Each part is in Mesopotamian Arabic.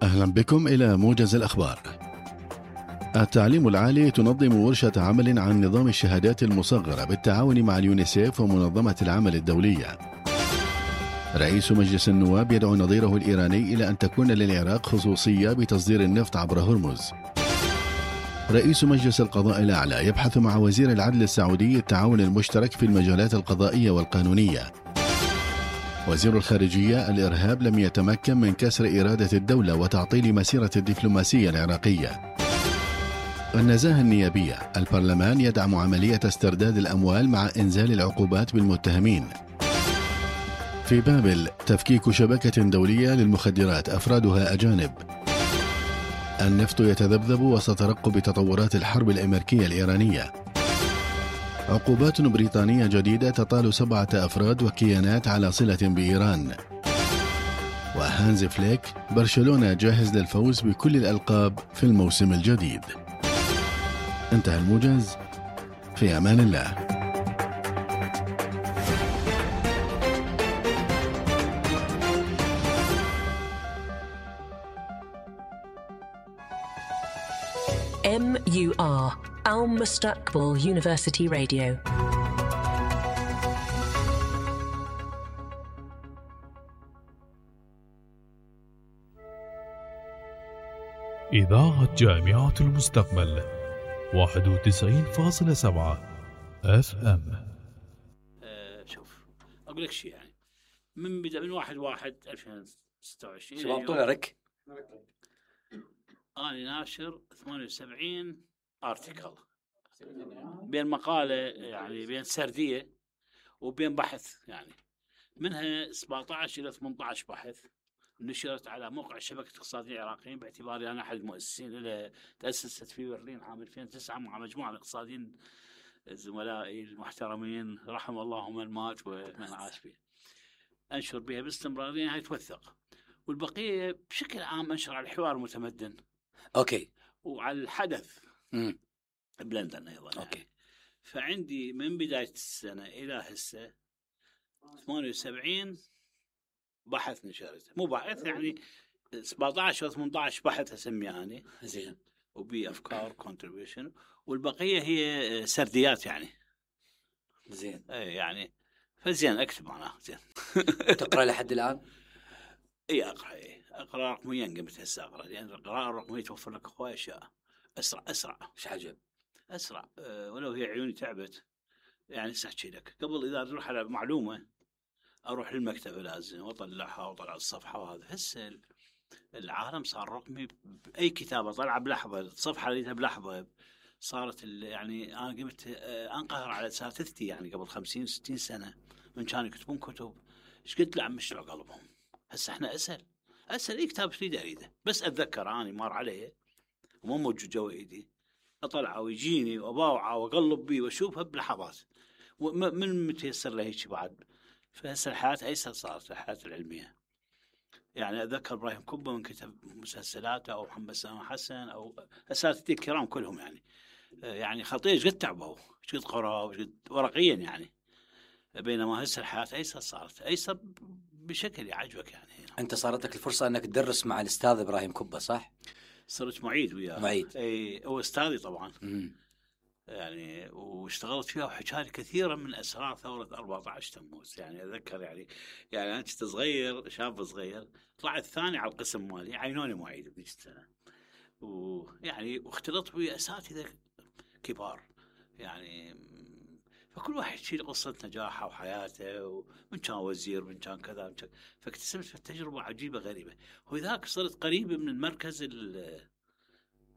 أهلا بكم إلى موجز الأخبار. التعليم العالي تنظم ورشة عمل عن نظام الشهادات المصغرة بالتعاون مع اليونيسيف ومنظمة العمل الدولية. رئيس مجلس النواب يدعو نظيره الإيراني إلى أن تكون للعراق خصوصية بتصدير النفط عبر هرمز. رئيس مجلس القضاء الأعلى يبحث مع وزير العدل السعودي التعاون المشترك في المجالات القضائية والقانونية. وزير الخارجية: الإرهاب لم يتمكن من كسر إرادة الدولة وتعطيل مسيرة الدبلوماسية العراقية. النزاهة النيابية: البرلمان يدعم عملية استرداد الأموال مع إنزال العقوبات بالمتهمين. في بابل: تفكيك شبكة دولية للمخدرات أفرادها أجانب. النفط يتذبذب وسط ترقب تطورات الحرب الأمريكية الإيرانية. عقوبات بريطانية جديدة تطال 7 أفراد وكيانات على صلة بإيران. وهانز فليك: برشلونة جاهز للفوز بكل الألقاب في الموسم الجديد. انتهى الموجز، في أمان الله. MUR المستقبل University Radio. إذاعة جامعة المستقبل 91.7 FM. شوف أقول لك شيء، يعني من بدأ من 1/1/2026 شباب طول رك أنا ناشر 78 ارتكل بين مقالة، يعني بين سردية وبين بحث، يعني منها 17 إلى 18 بحث نشرت على موقع شبكة اقتصاديين العراقيين، باعتباري أنا أحد المؤسسين اللي تأسست في برلين عام 2009 مع مجموعة من الاقتصاديين زملائي المحترمين رحم الله من مات ومن عاش به. أنشر بها باستمرارية هاي توثق، والبقية بشكل عام أنشر على الحوار المتمدن. أوكي. وعلى الحدث بلندن أيضا. أوكي. يعني. فعندي من بداية السنة إلى هسه 78 بحث نشرته، مو بحث يعني 17 أو 18 بحث أسميها أنا. زين. وبي أفكار contribution، والبقية هي سرديات يعني. زين. يعني فزين أكتب معناه زين. تقرأ لحد الآن؟ أقرأ رقميا، قمت هسه أقرأ، لأن القراءة الرقمية توفر لك هواية أشياء أسرع. إيش عجب؟ أسرع. ولو هي عيوني تعبت يعني سأحكي لك. قبل إذا أروح على معلومة أروح للمكتب لازم وأطلعها وأطلع الصفحة، وهذا هسه العالم صار رقمي. بأي كتابة طلع بلحظة، الصفحة لقيتها بلحظة. صارت يعني أنا قمت أنقهر على أساتذتي يعني قبل 50-60 سنة من كانوا يكتبون كتب إيش قلت له عم مشلع قلبهم. هسه إحنا أسهل أي كتاب أريده بس أتذكر أنا مار عليه وما موجود جوا إيدي، أطلعه ويجيني وأباوعه وأقلب بيه وأشوفها بلحظات. ومن متيسر له هيك بعد. فهسه الحياة أيسر صارت، الحياة العلمية. يعني أتذكر إبراهيم كبة من كتب مسلسلاته، أو محمد سامح حسن، أو أساتذتي الكرام كلهم يعني خطير إيش قد تعبوا، إيش قد قرأوا، إيش قد ورقيا يعني. بينما هسه الحياة أيسر صارت، أيسر بشكل يعجبك يعني. أنت صارت لك الفرصة أنك تدرس مع الأستاذ إبراهيم كبة صح؟ صرت معيد وياه. معيد. أي هو أستاذي طبعا. يعني واشتغلت فيها وحكالي كثيرا من أسرار ثورة 14 تموز. يعني أذكر يعني أنا كنت صغير، شاب صغير، طلعت ثاني على القسم مالي، عينوني معيد بذيك السنة. ويعني واختلطت ويا أساتذة كبار يعني. فكل واحد يشيل قصة نجاحه وحياته، ومن كان وزير من كان كذا من كان. فاكتسبت في التجربة عجيبة غريبة، وذاك صرت قريبة من المركز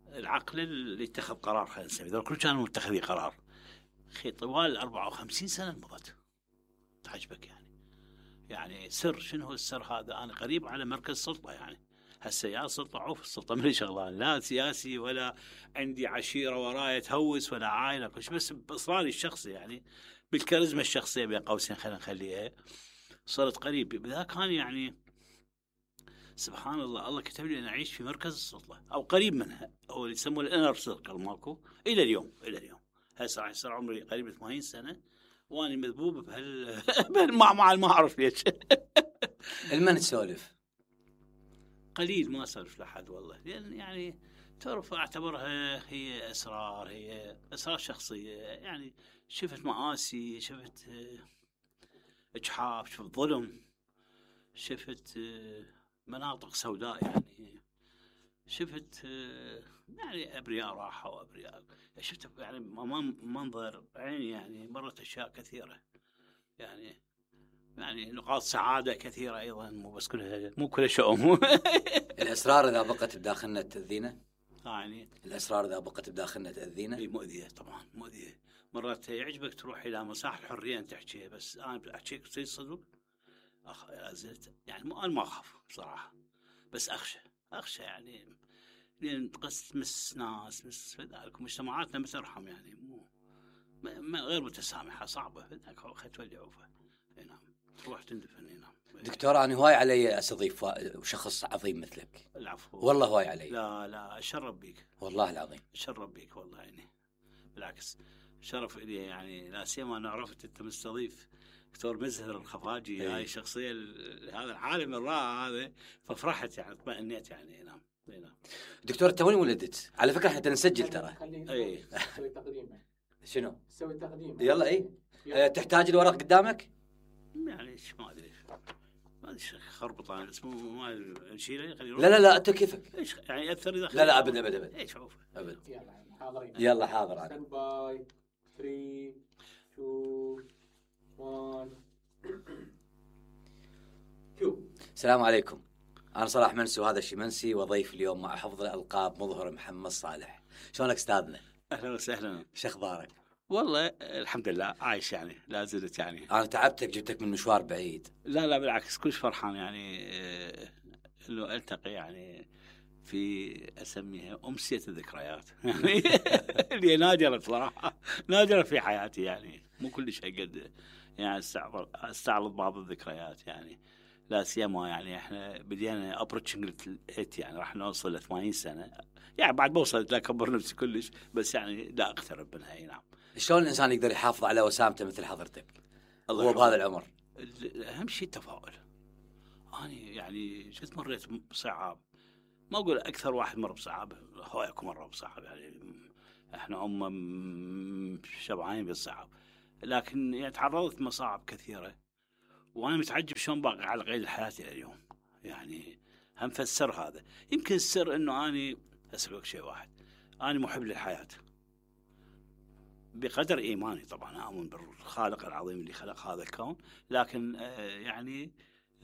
العقل اللي اتخذ قرار. خلينا نسميه ذول كل كانوا متخذي قرار. طوال 54 سنة مضت تعجبك يعني سر. شنو هو السر هذا؟ أنا قريب على مركز سلطة يعني. هسه يا سلطة عوف السلطة ملي شغلان، لا سياسي ولا عندي عشيرة ورايا تهوس ولا عائلة، بس بإصراري الشخصي يعني، بالكاريزما الشخصية بين قوسين خلينا نخليها. صرت قريب بذاك كان يعني سبحان الله كتب لي أن أعيش في مركز السلطة أو قريب منها، أو اللي يسموه الانر سيركل ماكو إلى اليوم. هسه راح يصير عمري قريب 80 سنة وأنا مذبوب بهالمعمعة ما أعرف ليش. المن تسولف قليل ما اسولف لحد والله، لان يعني تعرف اعتبرها هي اسرار شخصيه. يعني شفت مآسي، شفت اجحاف، شفت ظلم، شفت مناطق سوداء، يعني شفت يعني ابرياء راحوا وابرياء، شفت يعني منظر عيني، يعني مرت اشياء كثيره، يعني نقاط سعاده كثيره ايضا، مو كلها شؤم. الاسرار اذا بقت بداخلنا تاذينا، يعني الاسرار اذا بقت بداخلنا تاذينا. مؤذيه طبعا، مؤذيه. مرات يعجبك تروح الى مساحه الحريه ان تحكيها، بس انا احكيك صدق زلت يعني انا ما اخاف بصراحه، بس اخشى يعني، لان تمس ناس، مس ذلك مجتمعاتنا ما ترحم، يعني مو غير متسامحه، صعبه ذاك تولي عوفه. نعم، تروح تندفن. نعم دكتور، انا هواي علي استضيف شخص عظيم مثلك. العفو والله هواي علي. لا اشرف بيك والله العظيم، اشرف بيك والله، يعني بالعكس شرف لي، يعني لا سيما انا عرفت انت مستضيف دكتور مزهر الخفاجي. هاي شخصيه هذا العالم الرائع هذا، ففرحت يعني، اطمئنيت يعني. نعم دكتور انت وين ولدت؟ على فكره احنا نسجل ترى. اي سوي تقديمه. شنو؟ سوي تقديمه. يلا تحتاج الورق قدامك؟ يعني ما ادري خربط انا اسمه، ما نشيله خليه. لا انت كيفك؟ ايش يعني ياثر اذا لا ابد ايش عوف ابد. يلا حاضرين. يلا حاضر انا. ستاند باي 3 2 1 شو. السلام عليكم، انا صلاح منسي وهذا الشمنسي، وضيف اليوم مع حفظ الالقاب مظهر محمد صالح. شلونك استاذنا؟ اهلا وسهلا. شو اخبارك؟ والله الحمد لله عايش، يعني لا زلت يعني. انا تعبتك، جبتك من مشوار بعيد. لا بالعكس، كلش فرحان يعني انه التقي يعني في اسميها امسيه الذكريات. يعني اللي نادره صراحه، نادره في حياتي، يعني مو كل شيء قد يعني استعرض بعض الذكريات، يعني لا سيما يعني احنا بدينا ابروتشنج الهيت، يعني راح نوصل ل 80 سنه، يعني بعد بوصل لا اكبر نفسي كلش، بس يعني لا اقترب منها. نعم. شلون الانسان يقدر يحافظ على وسامته مثل حضرتك هو بهذا العمر؟ اهم شيء التفاؤل. انا يعني جد مريت بصعاب، ما اقول اكثر واحد مر بصعاب، هواكم مر بصعاب، يعني احنا شبعانين بالصعاب، لكن يعني تعرضت مصاعب كثيره، وانا متعجب شلون باقي على قيد الحياه الى اليوم. يعني هم فسر هذا، يمكن السر انه اني اسالك شيء واحد، انا محب للحياه بقدر ايماني، طبعا اؤمن بالخالق العظيم اللي خلق هذا الكون، لكن يعني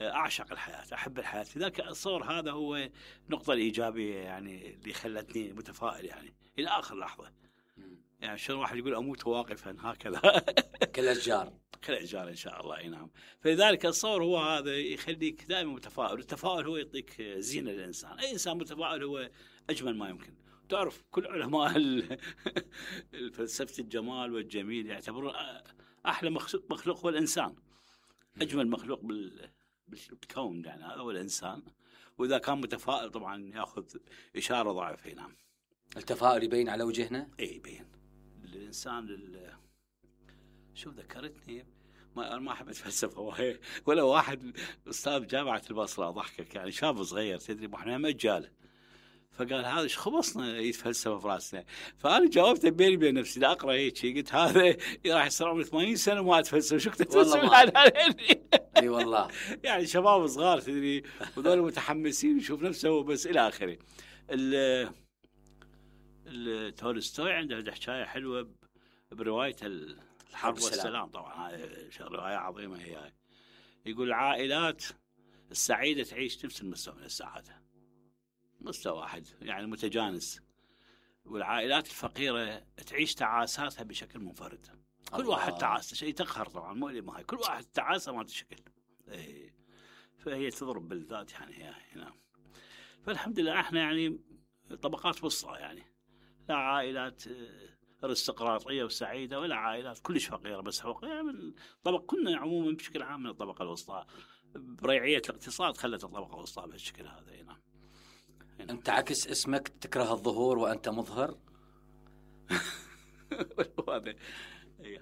اعشق الحياه، احب الحياه، لذلك الصور هذا هو النقطه الايجابيه يعني اللي خلتني متفائل يعني الى اخر لحظه. يعني شلون واحد يقول اموت واقفا هكذا. كالاشجار ان شاء الله. اي نعم. فلذلك الصور هو هذا يخليك دائما متفائل، التفاؤل هو يعطيك زينه للانسان، اي انسان متفائل هو اجمل ما يمكن. تعرف كل علماء فلسفه الجمال والجميل يعتبرون احلى مخلوق هو الانسان، اجمل مخلوق بالكون، يعني هذا هو الانسان، واذا كان متفائل طبعا ياخذ اشاره ضعيفه. نعم. التفاؤل يبين على وجهنا. اي يبين الانسان شوف ذكرتني، ما احب اتفلسف ولا واحد استاذ جامعه البصره ضحكك، يعني شاب صغير تدري احنا مجال، فقال هذا ايش خبصنا يتفلسف براسنا، فانا جاوبته بيني وبين نفسي لا اقرا هيك، قلت هذا راح يصير عمري 80 سنه وما اتفلسف، شو تتفلسف علي؟ اي والله. يعني شباب صغار تدري، وذول متحمسين يشوف نفسه بس الى اخره. تولستوي عنده حكايه حلوه بروايه الحرب والسلام، طبعا هاي روايه عظيمه هي. يقول العائلات السعيده تعيش نفس المستوى من السعاده، مستوى واحد يعني متجانس، والعائلات الفقيره تعيش تعاساتها بشكل منفرد. كل واحد تعاسه شيء تقهر طبعا، مو اللي ما هي، كل واحد تعاسه ما تشكل. فهي تضرب بالذات يعني هي هنا. فالحمد لله احنا يعني طبقات وسطى، يعني لا عائلات ارستقراطيه وسعيده ولا عائلات كلش فقيره بس فقيره من طبق، كنا عموما بشكل عام من الطبقه الوسطى، بريعيه الاقتصاد خلت الطبقه الوسطى بهالشكل هذا. هنا انت عكس اسمك، تكره الظهور وانت مظهر.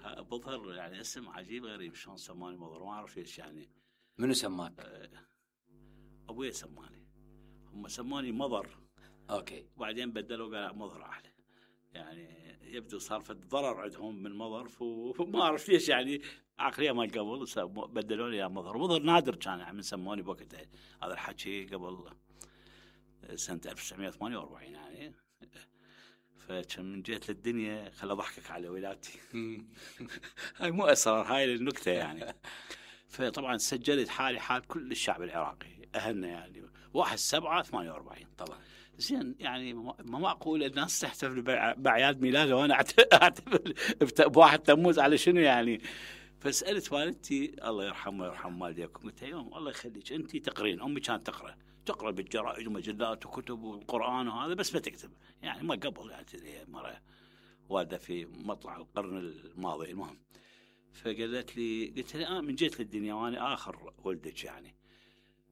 هذا مظهر يعني اسم عجيب غريب، شلون سماني مظهر ما اعرف ايش يعني. منو سماك؟ ابوي سماني، هم سموني مضر، اوكي. وبعدين بدلوا قال مضر احلى. يعني يبدو صار في ضرر عندهم من مضر، فما اعرف ليش يعني عقليه ما قبل بدلوا لي يا مضر. مضر نادر كان يعني من سموني بوقتها، هذا الحكي قبل سنه 1948 يعني. فكان من جيت للدنيا خل اضحكك على ولادتي. هاي مو اسرار، هاي النكته يعني. فطبعا سجلت حالي حال كل الشعب العراقي، اهلنا يعني 1/7/48 طبعا. زين يعني ما معقول الناس تحتفل باعياد ميلاده وانا احتفل ب1 تموز على شنو يعني؟ فسالت والدتي الله يرحمه ويرحم والديكم، قلت يوم الله يخليك انت تقرين، امي كانت تقرا بالجرائد ومجلات وكتب والقران وهذا، بس ما تكتب يعني ما قبل يعني مره والده في مطلع القرن الماضي. المهم فقالت لي، قلت لها من جيت للدنيا وانا اخر ولدك يعني،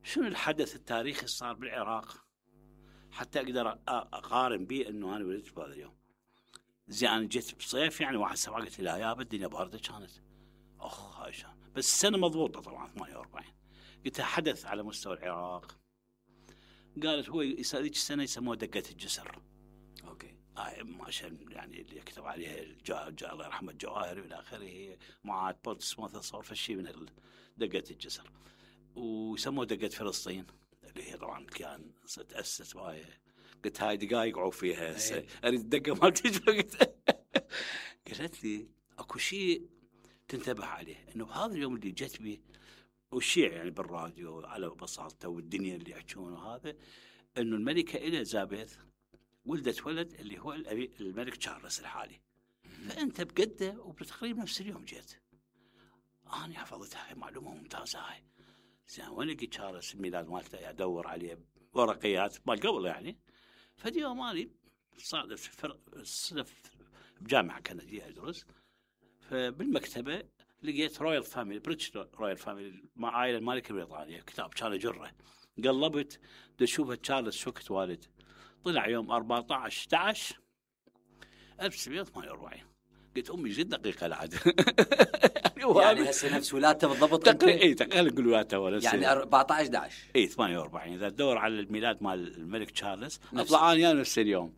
شنو الحدث التاريخي اللي صار بالعراق حتى اقدر اقارن به انه انا ولدت بهذا اليوم؟ زين انا جيت بصيف يعني 1/7، قلت لا يابا الدنيا بارده كانت، هاي شان بس السنه مضبوطه طبعا 48. قلت حدث على مستوى العراق. قالت هو ذيك السنه يسموه دقه الجسر. اوكي. عشان يعني اللي يكتب عليها الله يرحمه الجواهري والى اخره، معاد بورتسموث صار فشي من دقه الجسر، ويسموه دقه فلسطين اللي هي طبعا كان تاسست باي. قلت هاي دقائق عوف فيها هسه اريد الدقه ما تجي. قالت لي اكو شيء تنتبه عليه، انه بهذا اليوم اللي جت به والشيع يعني بالراديو على بساطته والدنيا اللي يحكون وهذا، انه الملكه اليزابيث ولدت ولد اللي هو الملك تشارلز الحالي، فانت بقده وبتقريبا نفس اليوم جيت. انا حفظتها، هاي معلومه ممتازه هاي. زين وين لقيت تشارلز الميلاد مالته ادور عليه ورقيات ما قبل يعني. فاليوم اني صادف الصدف بجامعه كنديه ادرس، فبالمكتبه لقيت رويال فاميلي بريتش رويال فاميلي مع عائله الملك البريطانيه، كتاب كان اجره. قلبت اشوفه تشارلز شو كنت والد، طلع يوم 14/11/1948. قلت امي جد دقيقه العاد. يعني هسه نفس ولادته بالضبط تقريبا نقول ولادته ولا يعني 14/11 اي 48. اذا تدور على الميلاد مال الملك تشارلز اطلع انا نفس اليوم.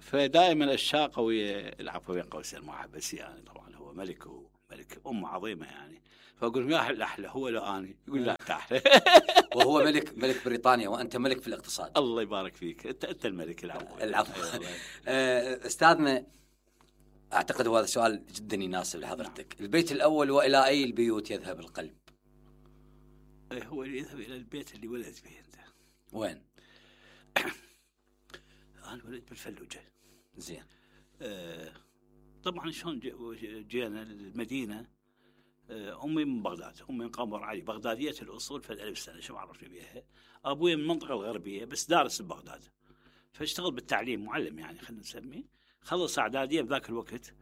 فدائما الشاقه ويا العفو بين قوسين ما بس يعني طبعا هو ملك وملك عظيمه يعني. فاقول يا الاحلى هو لو اني يقول لا انت احلى. وهو ملك بريطانيا وانت ملك في الاقتصاد. الله يبارك فيك، انت الملك. العفو. استاذنا اعتقد هذا سؤال جدا يناسب لحضرتك. البيت الاول والى اي البيوت يذهب القلب؟ هو يذهب الى البيت اللي ولد فيه انت. وين؟ انا ولدت بالفلوجه. زين. طبعا شلون جينا المدينه. امي من بغداد، امي من قمر علي، بغداديه الاصول في 1000 سنه، شو عرفني بيها. ابوي من المنطقه الغربيه بس دارس ببغداد، فاشتغل بالتعليم معلم يعني خلينا نسميه. خلص اعداديه بذاك الوقت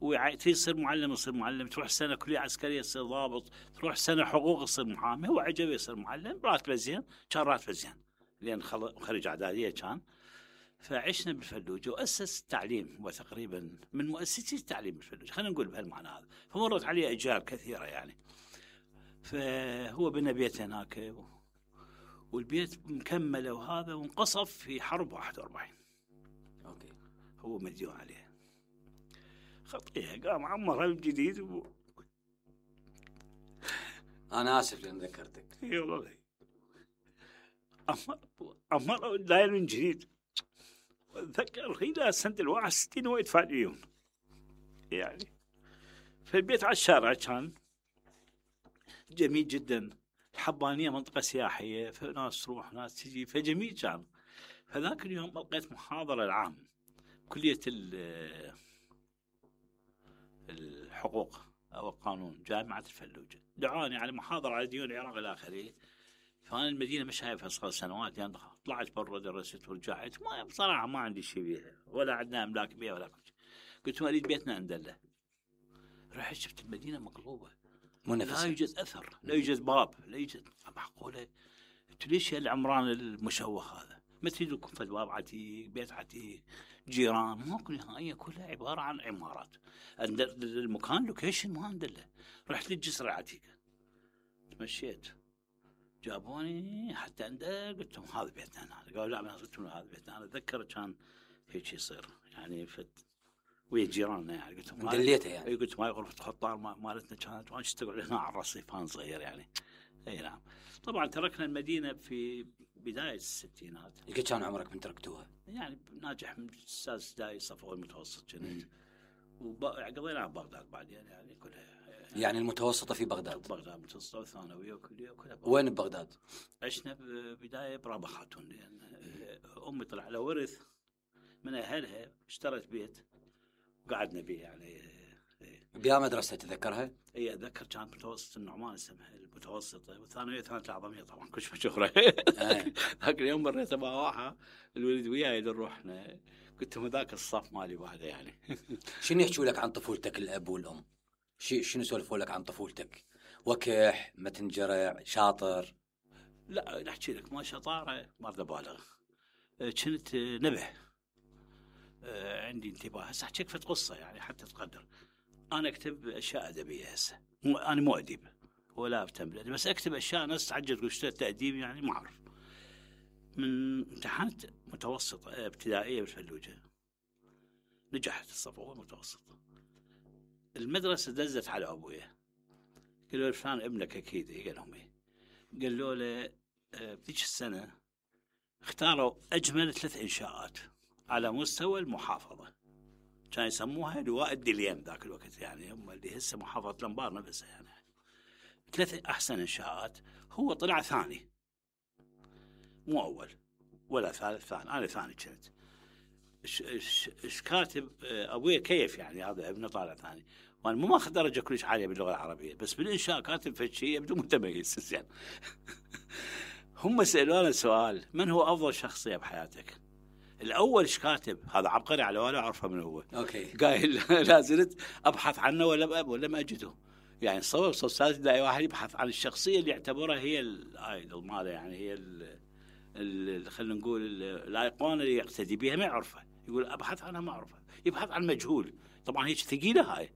ويصير معلم، يصير معلم، تروح سنه كليه عسكريه تصير ضابط، تروح سنه حقوق يصير محامي. هو عجبه يصير معلم، راتبه زين، كان راتبه زين لان خرج اعداديه كان. فعشنا بالفلوجه واسس التعليم، وتقريبا من مؤسسي التعليم بالفلوجه خلينا نقول بهالمعنى هذا. فمرت عليه اجيال كثيره يعني. فهو بنى بيت هناك والبيت مكمله وهذا، وانقصف في حرب 41. اوكي. هو مديون عليه خطيه، قام عمرها من جديد انا اسف لان ذكرتك. اي والله عمرها داير من جديد. اتذكر الى سنه 61 هو يدفع ديون يعني. فالبيت على الشارع كان جميل جدا. الحبانيه منطقه سياحيه، فناس تروح ناس تجي، فجميل كان. فذاك اليوم لقيت محاضره العام كليه الحقوق او القانون جامعه الفلوجه، دعاني على محاضره على ديون العراق الى اخره. فانا المدينه مش شايفها صار سنوات يعني. طلعت برا درست ورجعت، ما بصراحه ما عندي شيء بيها ولا عندنا املاك بيها ولا كل شيء. قلت اريد بيتنا ندله. رحت شفت المدينه مقلوبه، لا يوجد اثر، لا يوجد باب، لا يوجد. معقوله؟ قلت ليش العمران المشوه هذا؟ ما تريد لكم فد باب عتيق، بيت عتيق، جيران؟ ماكو نهائيا، كلها عباره عن عمارات. المكان لوكيشن ما ندله. رحت للجسر العتيق، تمشيت جابوني حتى عنده، قلت لهم هذا بيتنا هنا. قالوا لا، ما قلت لهم هذا بيتنا. انا اتذكر كان هيك يصير يعني ويا جيراننا يعني. قلت لهم مدليته يعني. اي قلت هاي غرفه خطار مالتنا كانت، وانا اشتغل هنا على الرصيفان صغير يعني. اي نعم. طبعا تركنا المدينه في بدايه الستينات. قد كان عمرك من تركتوها؟ يعني ناجح من استاذ ابتدائي صف اول متوسط كنت. وقضينا ببغداد بعدين يعني كلها. يعني المتوسطه في بغداد. بغداد متوسطه وثانويه وكليه وكلها. وين ببغداد؟ عشنا بدايه برابا خاتون، لان امي طلع لها ورث من اهلها، اشترت بيت وقعدنا به يعني. بيا مدرسه تذكرها؟ اي اتذكر كانت متوسط النعمان اسمها المتوسطه، والثانويه كانت العظميه طبعا كل شيء مشهوره. ذاك اليوم مريت مع واحد الولد وياي نروحنا، قلت لهم ذاك الصف مالي بعده يعني. شنو يحكوا لك عن طفولتك الاب والام؟ شنو سولفوا لك عن طفولتك؟ وكح، متنجرع، شاطر؟ لا نحكي لك ما شطاره، ما اريد ابالغ. كنت نبه، عندي انتباه. هسه احكي لك فد قصه يعني حتى تقدر. انا اكتب اشياء ادبيه هسه، انا مو اديب ولا اهتم بالادب، بس اكتب اشياء ناس تعجب تقول اشتريت تاديب يعني ما اعرف. من امتحنت متوسطه ابتدائيه بالفلوجه، نجحت الصف اول متوسط. المدرسه دزت على ابويا، قالوا له فلان ابنك اكيد. قال لهم ايه؟ قالوا له بذيك السنه اختاروا اجمل 3 انشاءات على مستوى المحافظه، كان يسموها لواء الدليم ذاك الوقت يعني، هم اللي هسه محافظه الانبار نفسها يعني. 3 احسن انشاءات، هو طلع ثاني مو اول ولا ثالث، ثاني. انا ثاني كنت. ايش كاتب ابويا كيف يعني هذا ابنه طالع ثاني، وانا مو ماخذ درجه كلش عاليه باللغه العربيه، بس بالانشاء كاتب فد شيء يبدو متميز يعني. هم سالونا سؤال: من هو افضل شخصيه بحياتك؟ الاول ايش كاتب؟ هذا عبقري على ولا اعرفه من هو. اوكي. قايل لا زلت ابحث عنه ولا ما اجده يعني. صور استاذ ابتدائي واحد يبحث عن الشخصيه اللي يعتبرها هي الايدول ماله يعني، هي خلينا نقول الايقونه اللي يقتدي بها، ما يعرفها. يقول ابحث عنها ما اعرفها، يبحث عن مجهول. طبعا هيك ثقيله هاي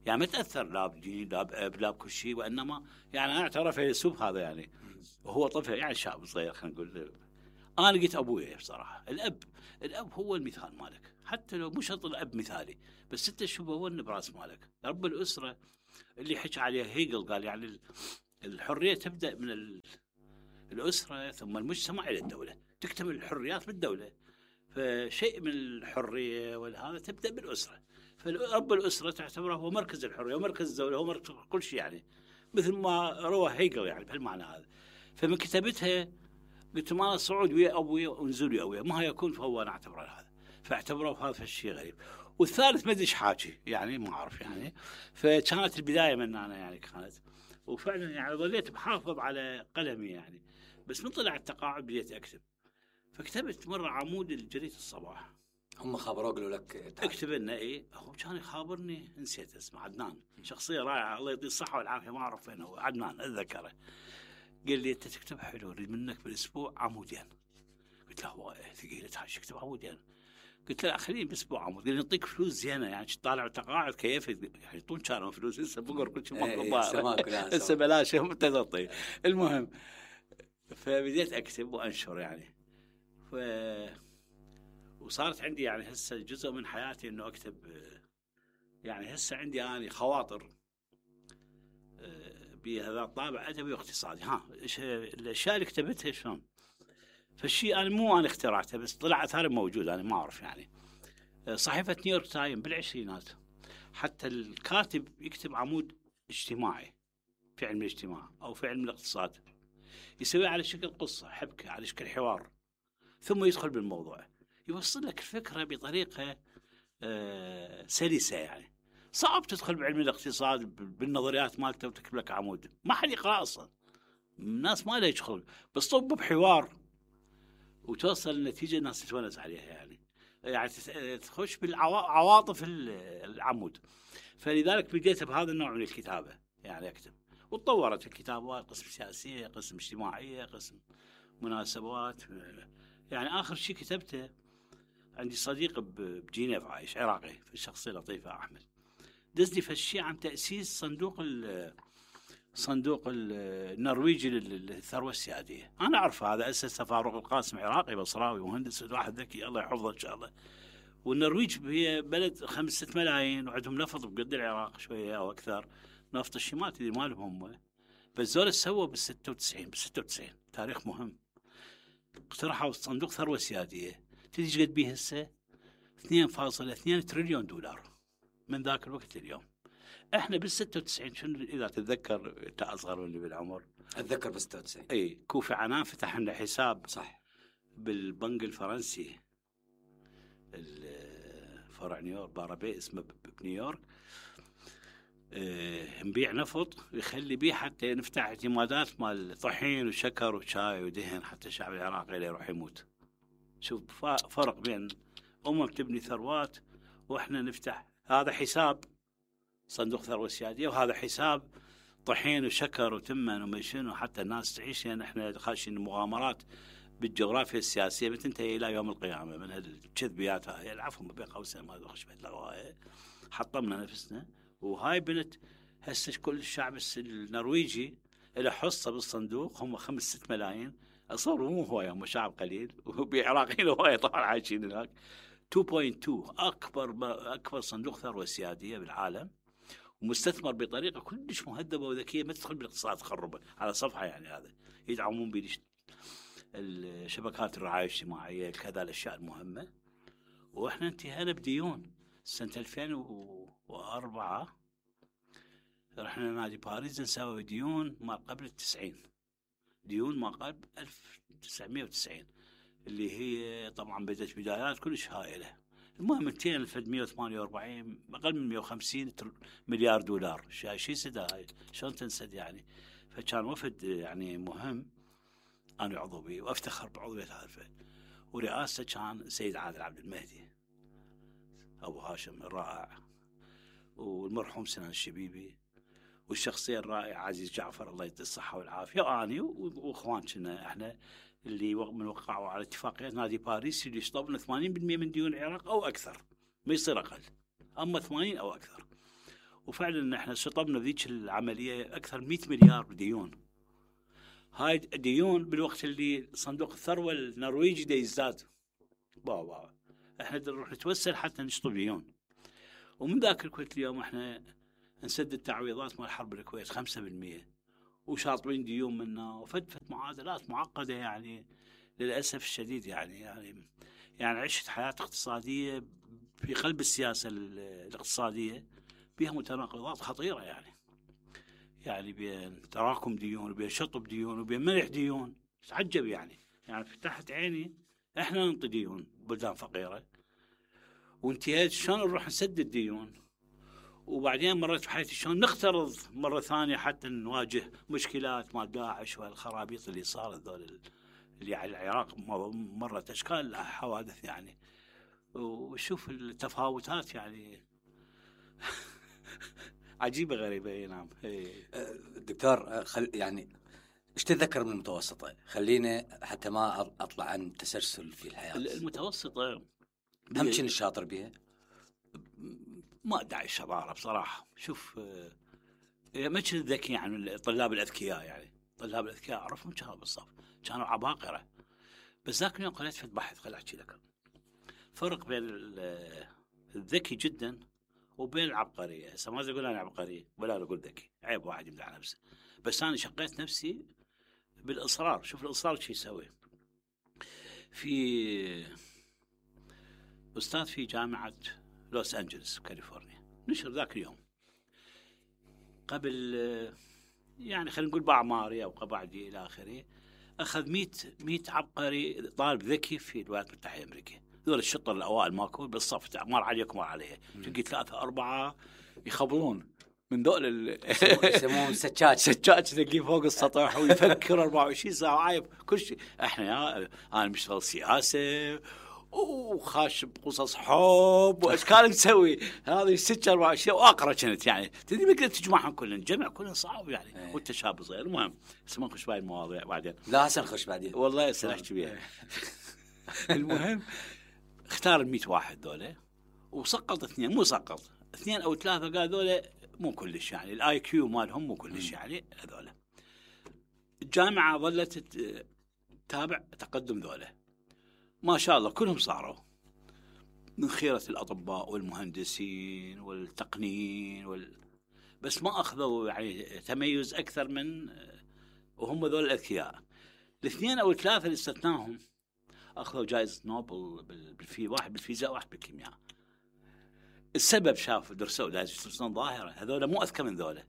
يعني، ما تاثر لا بدين لا باب لا بكل شيء، وانما يعني انا اعترف فيلسوف هذا يعني، وهو طفل يعني شاب صغير خلينا نقول. انا لقيت ابويا بصراحه الاب هو المثال مالك، حتى لو مو شرط الاب مثالي، بس انت شو بون براس مالك. رب الاسره اللي حكى عليه هيجل، قال يعني الحريه تبدا من الاسره ثم المجتمع الى الدوله، تكتمل الحريات بالدوله. فشيء من الحريه والهذا تبدا بالاسره، فرب الاسره تعتبره هو مركز الحريه ومركز الدوله، هو مركز كل شيء يعني، مثل ما روى هيجل يعني بهالمعنى هذا. فمن كتابتها قلت ما صعود ويا ابويا ونزول ويا ابويا ما يكون، فهو انا اعتبره هذا، فاعتبره هذا الشيء غريب. والثالث ما ادري ايش حاكي يعني، ما اعرف يعني. فكانت البدايه من انا يعني كانت، وفعلا يعني ظليت بحافظ على قلمي يعني. بس من طلع التقاعد بديت اكتب، فكتبت مره عمود لجريده الصباح. هم خبروا قالوا لك اكتب لنا ايه؟ هو كان يخابرني، نسيت اسمه، عدنان، شخصيه رائعه الله يعطيه الصحه والعافيه، ما اعرف وين هو، عدنان اتذكره. قال لي انت تكتب حلو، اريد منك بالاسبوع عمودين. قلت له هو ثقيله هاي اكتب عمودين؟ قلت له خليني بالاسبوع عمود. قال لي نعطيك فلوس زينه يعني، طالع تقاعد كيف يعني، يعطون كانوا فلوس هسه بقر كل شيء هسه بلاش تعطي. المهم فبديت اكتب وانشر يعني. وصارت عندي يعني هسه جزء من حياتي انه اكتب يعني. هسه عندي اني خواطر بهذا الطابع ادبي واقتصادي. الاشياء اللي كتبتها شلون؟ فالشيء انا مو انا اخترعته، بس طلع اثار موجود انا ما اعرف يعني. صحيفه نيويورك تايم بالعشرينات حتى الكاتب يكتب عمود اجتماعي في علم الاجتماع او في علم الاقتصاد، يسوي على شكل قصه حبكه، على شكل حوار، ثم يدخل بالموضوع، يوصل لك الفكره بطريقه سلسه يعني. صعب تدخل بعلم الاقتصاد بالنظريات مالته وتكتب لك عمود، ما حد يقرأ اصلا، الناس ما لها يدخل، بس طب بحوار وتوصل النتيجه الناس تتونس عليها يعني تخش بالعواطف العمود. فلذلك بديت بهذا النوع من الكتابه يعني اكتب، وتطورت الكتابه، قسم سياسيه، قسم اجتماعيه، قسم مناسبات يعني. اخر شيء كتبته عندي صديق بجنيف عايش عراقي، في الشخصيه لطيفه احمد، دزني في الشيء عن تاسيس صندوق صندوق النرويجي للثروه السياديه. انا اعرف هذا اسسه فاروق القاسم، عراقي بصراوي مهندس واحد ذكي الله يحفظه ان شاء الله. والنرويج هي بلد 5-6 ملايين وعندهم نفط بقد العراق شويه او اكثر، نفط الشمال اللي مالهم هم. بس ذول سووا بال96 تاريخ مهم، اقترحوا صندوق ثروه سياديه. تدري ايش قد بيه هسه؟ 2.2 تريليون دولار من ذاك الوقت اليوم. احنا بال96 شنو اذا تتذكر، انت اصغر مني بالعمر، اتذكر بال96 اي كوفي عنان فتح لنا حساب صح بالبنك الفرنسي الفرع نيويورك بارابي اسمه بنيويورك. نبيع نفط يخلي بيه حتى نفتح اعتمادات مال طحين وشكر وشاي ودهن حتى الشعب العراقي لا يروح يموت. شوف فرق بين تبني ثروات واحنا نفتح هذا حساب صندوق ثروه سياديه، وهذا حساب طحين وشكر وتمن وما شنو حتى الناس تعيش. يعني احنا خاشين مغامرات بالجغرافيا السياسيه بتنتهي الى يوم القيامه من هالكذبيات هاي. العفو بين قوسين ما ادري بيت لغوايه، حطمنا نفسنا. وهاي بنت هسه كل الشعب النرويجي له حصه بالصندوق، هم 5-6 ملايين. اصور مو هوايه، هم شعب قليل وبعراقيين هوايه طبعا عايشين هناك. 2.2 اكبر صندوق ثروه سياديه بالعالم، ومستثمر بطريقه كلش مهذبه وذكيه ما تدخل بالاقتصاد تخربه على صفحه. يعني هذا يدعمون به الشبكات الرعايه الاجتماعيه كذا الاشياء المهمه. واحنا انتهينا بديون سنه 2004 رحنا نادي باريس نسوي ديون ما قبل 90، ديون ما قبل 1990 اللي هي طبعا بدت بدايات كلش هائله. المهم انتهينا في 148 اقل من 150 مليار دولار. شيء سدى هاي شلون تنسد يعني. فكان وفد يعني مهم انا عضو به وافتخر بعضويه هذا الفد. ورئاسته كان سيد عادل عبد المهدي ابو هاشم الرائع، والمرحوم سنان الشبيبي، والشخصيه الرائعه عزيز جعفر الله يديه الصحه والعافيه، واني واخوان كنا احنا اللي من وقعوا على اتفاقيات نادي باريس اللي شطبنا 80% من ديون العراق او اكثر، ما يصير اقل، اما 80 او اكثر. وفعلا احنا شطبنا ذيك العمليه اكثر 100 مليار ديون. هاي ديون بالوقت اللي صندوق الثروه النرويجي دا يزداد. بابا احنا نروح نتوسل حتى نشطب ديون. ومن ذاك الوقت اليوم احنا نسدد تعويضات مال حرب الكويت 5%، وشاطبين ديون منا، وفدفت معادلات معقده يعني للاسف الشديد. يعني عشت حياه اقتصاديه في قلب السياسه الاقتصاديه بها متناقضات خطيره يعني بين تراكم ديون وبين شطب ديون وبين منح ديون. تعجب يعني فتحت عيني احنا ننطي ديون بلدان فقيره، وانتهيت شلون نروح نسدد ديون. وبعدين مرت بحياتي شلون نقترض مره ثانيه حتى نواجه مشكلات مال داعش والخرابيط اللي صارت ذول اللي على العراق مرت اشكال حوادث يعني. وشوف التفاوتات يعني عجيبه غريبه. نعم دكتور يعني ايش تتذكر من المتوسطه؟ خلينا حتى ما اطلع عن تسلسل في الحياه. المتوسطه هم كنت شاطر بها؟ ما ادعي الشطاره بصراحه. شوف ما كنت ذكي يعني الطلاب الاذكياء، يعني الطلاب الاذكياء اعرفهم كانوا بالصف كانوا عباقره. بس ذاك اليوم قريت في البحث خل احكي لك فرق بين الذكي جدا وبين العبقريه. هسه ما اقول انا عبقري ولا اقول ذكي، عيب واحد يمدح نفسه. بس انا شقيت نفسي بالاصرار. شوف الاصرار شو يسوي. في استاذ في جامعه لوس أنجلس كاليفورنيا نشر ذاك اليوم قبل يعني خلينا نقول باعماري او بعدي الى اخره، اخذ 100 عبقري طالب ذكي في الولايات المتحده الامريكيه. ذول الشطر الاوائل ماكو بالصف مر عليكم مر عليه، تلقي 3-4 يخبرون من ذول يسمون سجاج تلقيه فوق السطح ويفكر 24 ساعه عايب كل شيء. احنا انا مشتغل سياسه وخاش بقصص حب واشكال نسوي هذه 6-4 اشياء واقرا كانت يعني تدري ما قدرت تجمعهم كلهم، جمع كلهم صعب يعني وانت شاب صغير. المهم ما نخش بهاي المواضيع بعدين، لا هسه نخش بعدين والله هسه نحكي بيها. المهم اختار ال 100 واحد ذولا وسقط 2، مو سقط 2 أو 3 قال ذولا مو كلش يعني الاي كيو مالهم مو كلش يعني هذولا. الجامعه ظلت تتابع تقدم ذولا ما شاء الله كلهم صاروا من خيرة الأطباء والمهندسين والتقنيين بس ما أخذوا يعني تميز أكثر من وهم ذول الأذكياء. الاثنين أو الثلاثة اللي استثناهم أخذوا جائزة نوبل واحد بالفيزياء واحد بالكيمياء. السبب شافوا درسوا درسوا ظاهرة هذول مو أذكى من ذولا،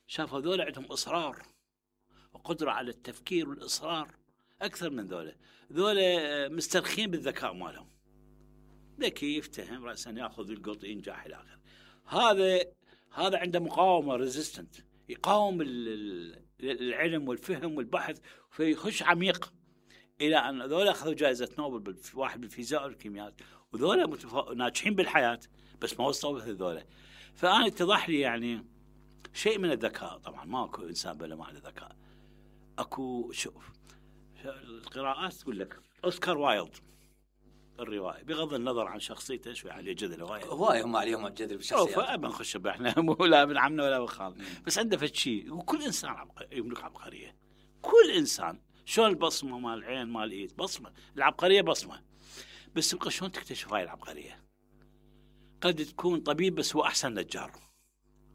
شافوا ذولا عندهم إصرار وقدرة على التفكير والإصرار أكثر من ذولا مسترخين بالذكاء مالهم، ذكي يفتهم رأسا يأخذ القط ينجح إلى آخره. هذا عنده مقاومة ريزيستنت، يقاوم العلم والفهم والبحث فيخش عميق إلى أن ذولا أخذوا جائزة نوبل واحد بالفيزياء والكيمياء، وذولا ناجحين بالحياة بس ما وصلوا مثل ذولا. فأنا اتضح لي يعني شيء من الذكاء. طبعا ما أكو إنسان بلا ما عنده ذكاء. أكو شوف القراءات تقول لك أوسكار وايلد الرواية بغض النظر عن شخصيته شوي عليه جدل هواي هم عليهم جدل بالشخصيات. فأبا نخش احنا مو لا ابن عمنا ولا ابن خالنا، بس عنده فد شيء. وكل إنسان يملك عبقرية. كل إنسان شلون البصمة مال العين مال الإيد بصمة، العبقرية بصمة، بس تبقى شلون تكتشف هاي العبقرية. قد تكون طبيب بس هو أحسن نجار،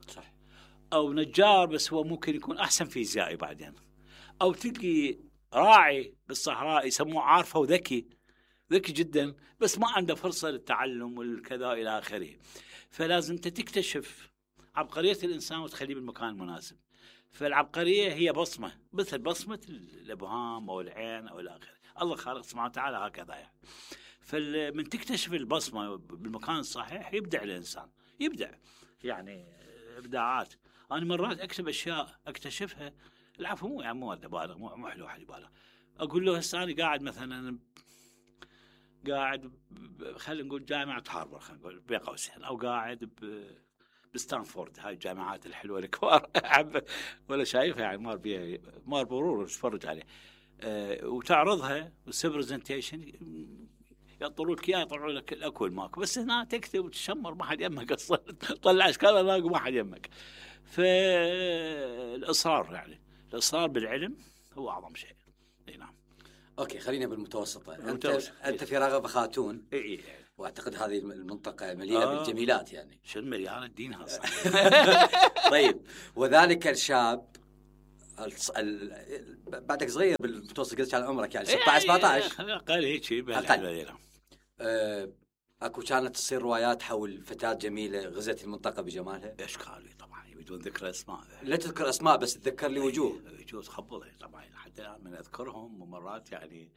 صح، أو نجار بس هو ممكن يكون أحسن فيزيائي بعدين، أو تلقي راعي بالصحراء يسموه عارفه وذكي جدا بس ما عنده فرصة للتعلم والكذا إلى آخره. فلازم تكتشف عبقرية الإنسان وتخليه بالمكان المناسب. فالعبقرية هي بصمة مثل بصمة الإبهام أو العين أو إلى آخره. الله خالق سبحانه وتعالى هكذا يعني. فمن تكتشف البصمة بالمكان الصحيح يبدع الإنسان، يبدع يعني إبداعات. أنا مرات أكتب أشياء أكتشفها العفو مو يعني مو بالغ مو حلو حد بالغ. أقول له هسه أنا قاعد مثلا خلينا نقول جامعة هارفارد خلينا نقول بين قوسين، أو قاعد بستانفورد هاي الجامعات الحلوة الكبار ولا شايفها يعني مار برور تتفرج عليه وتعرضها والسبرزنتيشن يطلعوا لك يطلعوا لك الأكل ماكو، بس هنا تكتب وتشمر ما حد يمك أصلا طلع أشكال لاقوا ما حد يمك. فالإصرار يعني الإصرار بالعلم هو أعظم شيء. نعم. اوكي خلينا بالمتوسطة. انت في رغبة خاتون. اي واعتقد هذه المنطقة مليئة بالجميلات يعني. شنو مليانة دينها طيب وذلك الشاب بعدك صغير بالمتوسط قلت على عمرك يعني 16 17 اقل هيك شيء اكو كانت تصير روايات حول فتاة جميلة غزت المنطقة بجمالها. اشكالي طبعا بدون ذكر اسماء. لا تذكر اسماء بس تذكر لي وجوه تخبل طبعا حتى الان من اذكرهم ومرات يعني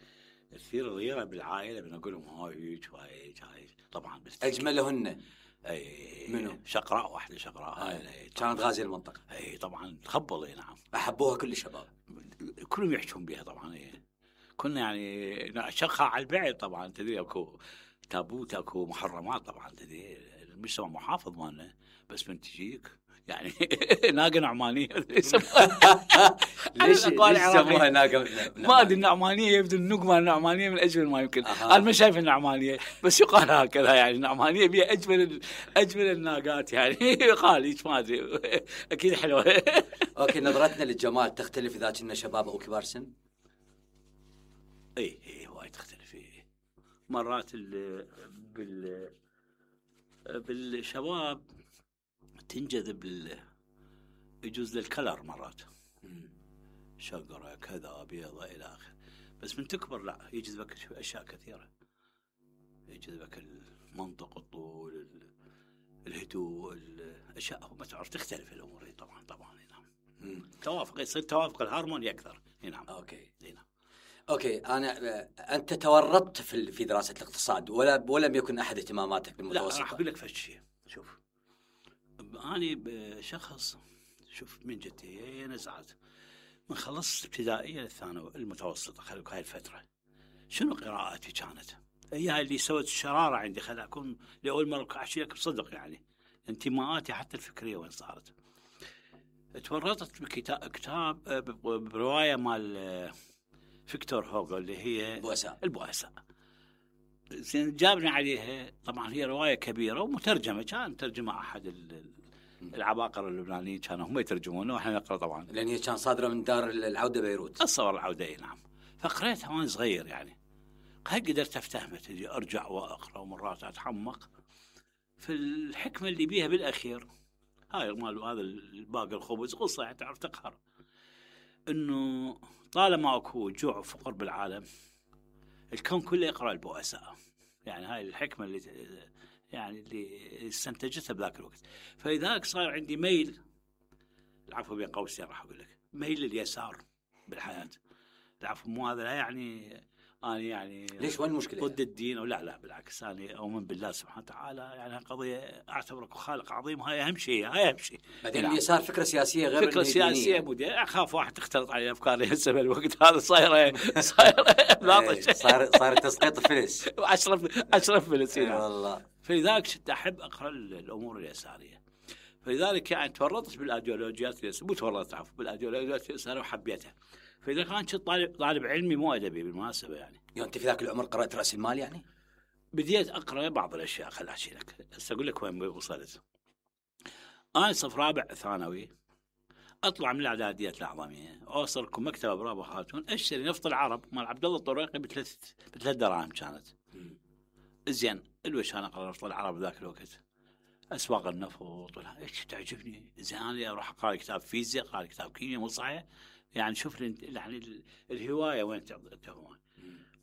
كثير غيره بالعائله بنقول لهم هاي طبعا اجملهن اي منو؟ شقراء واحده شقراء كانت غازيه المنطقه. اي طبعا تخبل. اي نعم احبوها كل الشباب كلهم يحكون بها طبعا. كنا يعني شقها على البعد طبعا تدري اكو تابوت اكو محرمات طبعا تدري المجتمع محافظ مالنا بس من تجيك يعني ناقه نعمانيه ليش سموها ناقه؟ ما ادري النعمانيه يبدو النوق مال النعمانيه من اجمل ما يمكن. انا ما شايف النعمانيه بس يقال هكذا يعني النعمانيه بها اجمل الناقات يعني يقال هيك ما ادري اكيد حلوه. اوكي نظرتنا للجمال تختلف اذا كنا شباب او كبار سن؟ اي وايد تختلف. مرات بالشباب تنجذب يجوز للكلر مرات شقرة كذا بيضة إلى آخر، بس من تكبر لا يجذبك أشياء كثيرة، يجذبك المنطق الطول الهدوء الأشياء ما تعرف تختلف الأمور طبعا نعم. توافق يصير توافق الهارموني أكثر. نعم. أوكي نعم. اوكي انت تورطت في دراسه الاقتصاد ولم يكن احد اهتماماتك بالمتوسطه؟ لا راح اقول لك فد شيء. شوف اني بشخص شوف من جدي نزعت من خلصت ابتدائيه للثانوي المتوسطه خليك هاي الفتره شنو قراءاتي كانت هي اللي سوت الشراره عندي خلي اكون لاول مره احكي لك بصدق يعني انتماءاتي حتى الفكريه وين صارت. تورطت بكتاب بروايه مال فيكتور هوغو اللي هي البؤساء. زين جابني عليها طبعا هي روايه كبيره ومترجمه كان ترجمه احد العباقرة اللبنانيين كانوا هم يترجمونه واحنا نقرا طبعا. لان هي كان صادره من دار العوده بيروت. اتصور العودة اي نعم. فقريتها وانا صغير يعني. هل قدرت افتهمها تجي ارجع واقرا ومرات اتحمق في الحكمة اللي بيها بالاخير. هاي مال هذا الباقي الخبز قصة يعني تعرف تقهر. انه طالما اكو جوع وفقر بالعالم الكون كله يقرأ البؤساء. يعني هاي الحكمة اللي استنتجتها بذاك الوقت. فلذلك صار عندي ميل، العفو بين قوسين راح اقول لك، ميل لليسار بالحياة. العفو مو هذا لا يعني انا يعني ليش وين المشكله؟ ضد الدين او لا بالعكس انا اؤمن بالله سبحانه وتعالى. يعني قضيه اعتبرك خالق عظيم. هاي اهم شيء. بعدين اليسار فكره سياسيه غير فكره سياسيه مودي. اخاف واحد تختلط عليه افكاري هسه بالوقت هذا صايره لاطش. صار تسقيط فلس. اشرف فلس والله. فلذلك كنت احب اقرا الامور اليساريه. فلذلك يعني تورطت بالايديولوجيات اليساريه. مو تورطت عفوا بالايديولوجيات اليساريه وحبيتها. فإذا كنت طالب علمي مو أدبي بالمناسبة يعني أنت في ذاك العمر قرأت رأس المال يعني؟ بديت أقرأ بعض الأشياء. خل أحكي لك أقول لك وين وصلت. أنا صف رابع ثانوي أطلع من الإعدادية الأعظمية أوصل لكم مكتبة برافو خاتون أشتري نفط العرب مال عبد الله الطريقي بثلاث دراهم كانت. زين الوش أنا أقرأ نفط العرب ذاك الوقت أسواق النفط إيش تعجبني. زين أنا أروح أقرأ كتاب فيزياء أقرأ كتاب كيمياء مو صحيح. يعني شوف يعني الهواية وين تهون.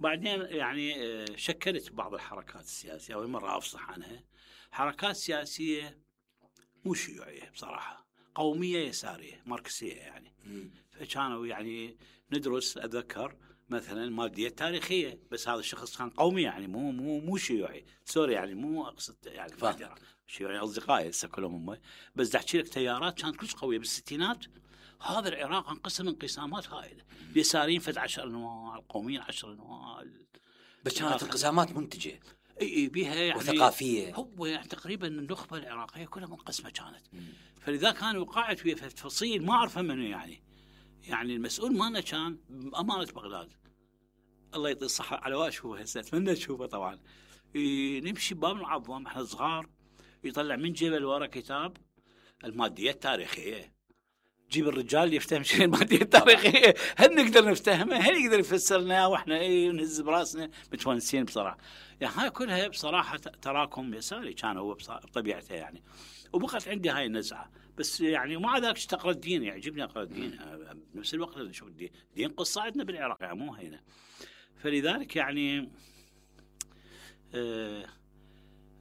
بعدين يعني شكلت بعض الحركات السياسية أول مرة أفصح عنها. حركات سياسية مو شيوعية بصراحة، قومية يسارية ماركسية يعني. فكانوا يعني ندرس أتذكر مثلا المادية التاريخية بس هذا الشخص كان قومي يعني مو شيوعي. سوري يعني مو أقصد يعني شيوعي أصدقائي هسه كلهم هم. بس أحكي لك تيارات كانت كلش قوية بالستينات. هذا العراق انقسم انقسامات هائلة. اليساريين فد 10 انواع، القوميين 10 انواع. بس كانت انقسامات منتجة. اي بيها يعني وثقافية. هو يعني تقريبا النخبة العراقية كلها منقسمة كانت. فلذا كان وقعت في تفصيل ما أعرفه منه يعني المسؤول مالنا كان أمانة بغداد الله يعطيه الصحة على واشوفه هسه أتمنى تشوفه طبعا. نمشي باب العظام احنا صغار يطلع من جيبه ورا كتاب المادية التاريخية. جيب الرجال يفتهم شيء المادية التاريخية. هل نقدر نفتهمه؟ هل يقدر يفسرنا واحنا نهز براسنا متونسين بصراحة. يعني هاي كلها بصراحة تراكم يساري كان هو بطبيعته يعني. وبقت عندي هاي النزعة بس يعني ومع ذلك تقرأ الدين يعجبني أقرأ الدين بنفس الوقت نشوف الدين قصة عندنا بالعراق يعني مو هنا. فلذلك يعني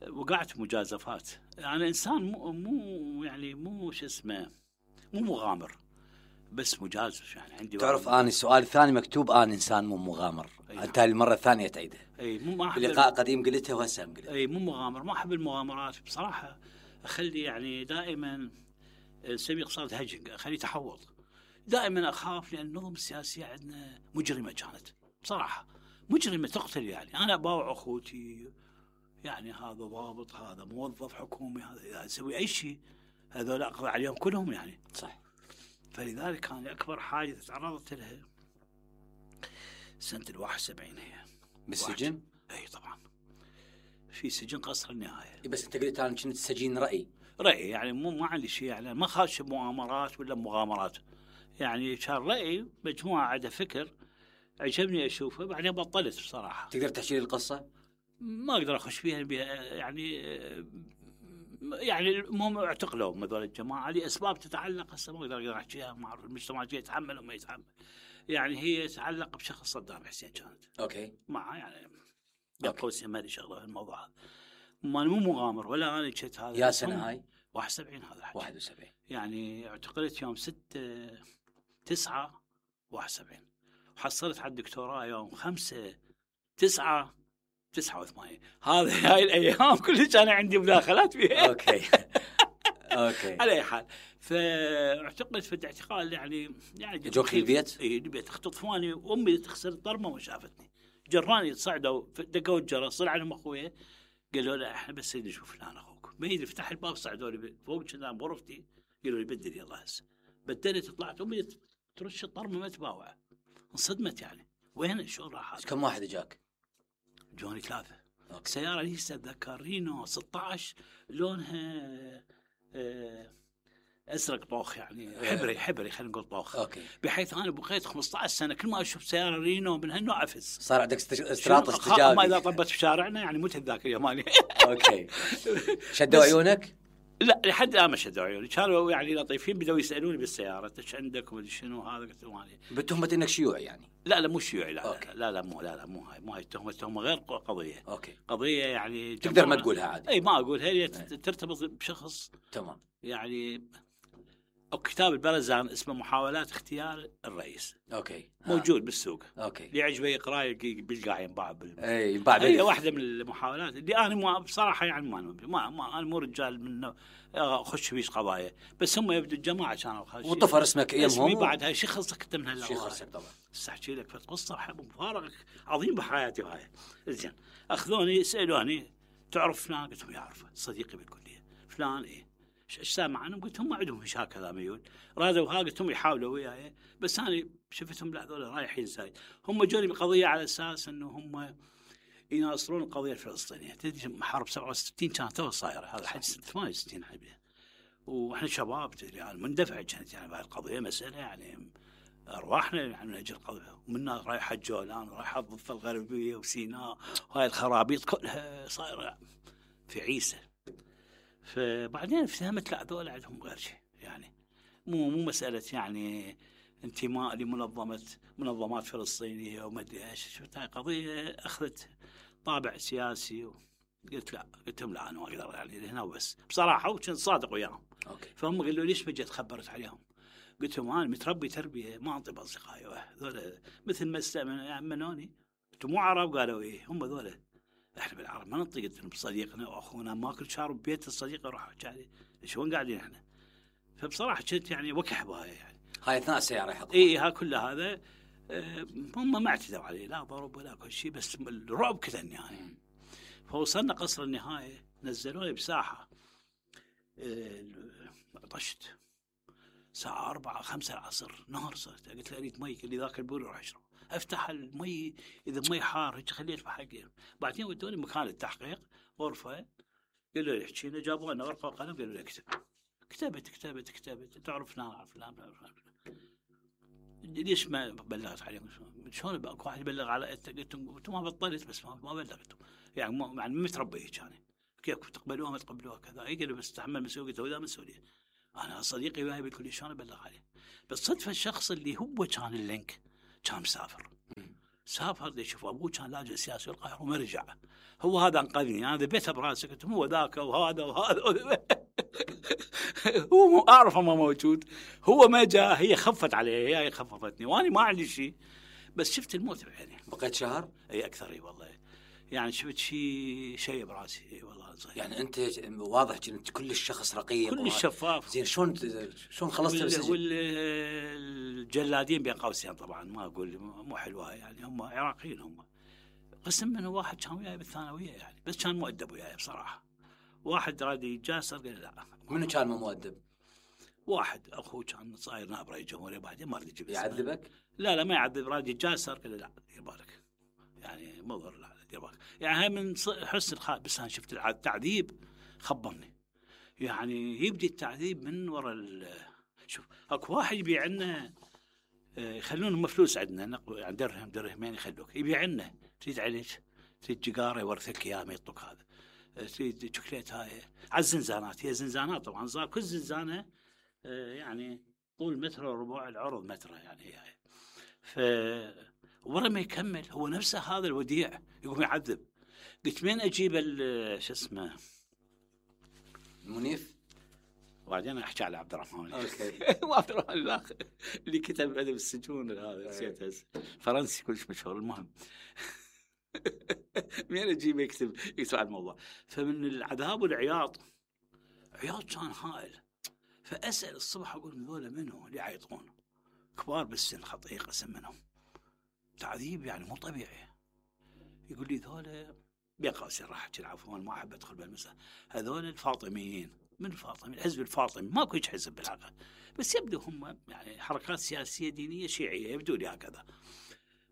وقعت مجازفات. أنا إنسان مو يعني مو شو اسمه مو مغامر بس مجازف يعني عندي. تعرف أنا السؤال الثاني مكتوب أنا إنسان مو مغامر. أنت المرة الثانية تعيده. أي مو لقاء قديم قلتها وهسه قلتها. أي مو مغامر ما أحب المغامرات بصراحة. أخلي يعني دائما نسميه اقتصاد هجنج أخلي تحوط. دائما أخاف لأن النظم السياسية عندنا مجرمة كانت بصراحة مجرمة تقتل يعني. أنا أباوع أخوتي يعني هذا ضابط هذا موظف حكومي هذا يسوي أي شيء هذول أقضي عليهم كلهم يعني. صح. فلذلك كان أكبر حاجة تعرضت لها سنة 71 هي بالسجن. أي طبعا في سجن قصر النهاية. بس أنت قلت أنا كنت سجين رأي يعني ما عندي شيء يعني ما خاش بمؤامرات ولا مغامرات يعني كان رأي مجموعة عدا فكر عجبني أشوفه بعدين بطلت بصراحة. تقدر تحكي لي القصة؟ ما أقدر أخش فيها يعني المهم اعتقلوا هذول الجماعة لأسباب تتعلق هسه ما أقدر أحكيها مع المجتمع يتحمل وما يتحمل. يعني هي تتعلق بشخص صدام حسين كانت. أوكي. مع يعني قوسين ما لي شغلة في الموضوع هذا. ما مو مغامر ولا أنا كنت هذا. يا سنة هاي 71 هذا الحكي. 71 يعني اعتقلت يوم 6/9/71 وحصلت على الدكتوراه يوم 5/9/89. هاي الأيام كلها كان عندي مداخلات فيها. أوكي. على أي حال فاعتقلت في الاعتقال يعني جوك البيت؟ إيه البيت اختطفوني وأمي تخسر الطرمة وشافتني جراني صعدوا دقوا الجرس صار عنهم أخويا قالوا له احنا بس نشوف فلان أخوك ما يدري فتح الباب صعدوا لي فوق كنا بغرفتي قالوا لي بدل يلا هسه بدلت طلعت أمي ترش الطرمة ما تباوع انصدمت يعني وين الشغل راح. كم واحد جاك؟ جوني 3. سيارة لسه أتذكر رينو 16 لونها ازرق طوخ يعني حبري خلينا نقول طوخ. اوكي. بحيث انا بقيت 15 سنه كل ما اشوف سياره رينو من هالنوع افز. صار عندك استراط استجابي. ما اذا طبت بشارعنا يعني مت الذاكره مالي. اوكي. شدوا عيونك؟ لا لحد الان ما شدوا عيوني، كانوا يعني لطيفين، بدأوا يسالوني بالسياره ايش عندك ومدري شنو هذا، قلت لهم مالي بتهمه انك شيوعي يعني. لا مو شيوعي، لا أوكي. لا مو هاي التهمه غير قضيه. اوكي. قضيه يعني تقدر ما تقولها عادي. اي ما اقولها، هي ترتبط بشخص تمام. يعني او كتاب البرزان اسمه محاولات اختيار الرئيس. اوكي. موجود بالسوق. اوكي. اللي يعجبه يقراه بيلقاه ينباع اي ينباع. هي واحده من المحاولات اللي انا بصراحه يعني ما انا مو رجال من اخش فيش قضايا، بس هم يبدو الجماعه كانوا وطفر اسمك اسمي بعد هاي شيء خلصك انت من هالله. شيء خلصك طبعا. احكي لك قصه مفارق عظيم بحياتي هاي. زين اخذوني سالوني تعرف فلان؟ قلت لهم يعرفه صديقي بالكليه. فلان ايه ايش سامع عنهم؟ قلت هم عندهم هشاك هذا ميول رادوا ها، قلت هم يحاولوا وياي بس انا شفتهم لا ذولا رايحين زايد. هم جوني بقضيه على اساس انه هم يناصرون القضيه الفلسطينيه. تدري حرب 67 كانت تو صايره، هذا حج 68 حبيبي، واحنا شباب تدري يعني مندفع كانت يعني بهذه القضيه، مساله يعني ارواحنا يعني من اجل القضيه، ومنا رايحه الجولان ورايحه الضفه الغربيه وسيناء وهاي الخرابيط كلها صايره في عيسى. فبعدين فهمت لا ذولا عندهم غير شيء، يعني مو مساله يعني انتماء لمنظمات فلسطينيه وما ادري ايش. شفت هاي قضيه اخذت طابع سياسي قلت لا، قلت لهم لا انا ما اقدر يعني هنا وبس بصراحه، وكنت صادق وياهم. اوكي. فهم قالوا ليش ما جيت خبرت عليهم؟ قلت لهم انا متربي تربيه ما انطي باصدقائي ذولا مثل ما يامنوني. انتم مو عرب؟ قالوا ايه هم ذولا. احنا بالعرب ما ننطي، قلت لهم صديقنا واخونا ماكل شارب ببيت الصديق اروح احكي عليه شلون قاعدين احنا. فبصراحه كنت يعني وكح بهاي يعني. هاي اثناء السياره يحطون. اي ها كل هذا هم ما اعتدوا عليه لا ضرب ولا كل شيء، بس الرعب كذا يعني. فوصلنا قصر النهايه، نزلوني بساحه طشت الساعه 4 5 العصر، نهار صرت. قلت له اريد مي، قال لي ذاك البول روح اشرب. افتح المي اذا مي حار هيك خليت بحقي. بعدين ودوني مكان التحقيق غرفه، قالوا لي احكي لنا، جابوا لنا ورقه وقلم قالوا لي اكتب. كتبت تعرف فلان ليش ما بلغت عليهم؟ شلون اكو واحد يبلغ على انتم ما بطلت بس ما بلغتم يعني ما متربي كان كيف تقبلوها ما تقبلوها كذا. قالوا بس تحمل مسؤوليته وذا مسؤوليه. انا صديقي وياي بالكل شلون ابلغ عليه؟ بس صدفه الشخص اللي هو كان اللينك كان مسافر سافر يشوف ابوه كان لاجئ سياسي القاهره وما رجع. هو هذا انقذني، انا ذبيته براسي قلت هو ذاك وهذا هو اعرفه ما موجود، هو ما جاء، هي خفت عليه، هي خففتني وانا ما عندي شيء، بس شفت الموت بعيني. بقيت شهر؟ اي اكثر. اي والله يعني شفت شيء براسي. اي والله صحيح. يعني انت واضح كنت كل الشخص رقيق كل الشفاف. زين شلون خلصت السجن؟ والجلادين بين قوسين طبعا ما اقول مو حلوه يعني، هم عراقيين، هم قسم منه واحد كان وياي بالثانويه يعني، بس كان مؤدب وياي بصراحه. واحد راد يجاسر قال لا. منو كان مو مؤدب؟ واحد اخوه كان صاير نائب رئيس الجمهوريه، بعدين ما راد يجيب يعذبك؟ لا ما يعذب، راد يجاسر قال لا دير بالك يعني مضر، لا دير بالك يعني. هاي من حسن الخاطر، بس انا شفت التعذيب خبرني يعني. يبدي التعذيب من وراء شوف اكو واحد يبيع لنا يخلون مفلوس عندنا يعني درهمين يخلوك يبيع لنا. تريد عليك، تريد جقاره يورثك اياه ما يعطوك هذا. تريد شوكليت هاي على الزنزانات، هي زنزانات طبعا صار كل زنزانه يعني طول متر وربع، العرض متر يعني هي. ف ورا ما يكمل هو نفسه هذا الوديع يقوم يعذب. قلت مين اجيب شو اسمه منيف؟ وبعدين احكي على عبد الرحمن. اوكي. عبد الرحمن الاخر اللي كتب ادب السجون هذا نسيت فرنسي كلش مشهور. المهم مين اجيب يكتب على الموضوع. فمن العذاب والعياط، عياط كان هائل. فاسال الصبح اقول ذولا منو اللي يعيطون؟ كبار بالسن خطيه قسم منهم، تعذيب يعني مو طبيعي. يقول لي ذولا بين قوسين راح احكي العفو ما احب ادخل بالمسألة، هذول الفاطميين. من الفاطمي؟ الحزب الفاطمي ماكو هيك حزب بالحقيقه، بس يبدو هم يعني حركات سياسيه دينيه شيعيه يبدو لي هكذا.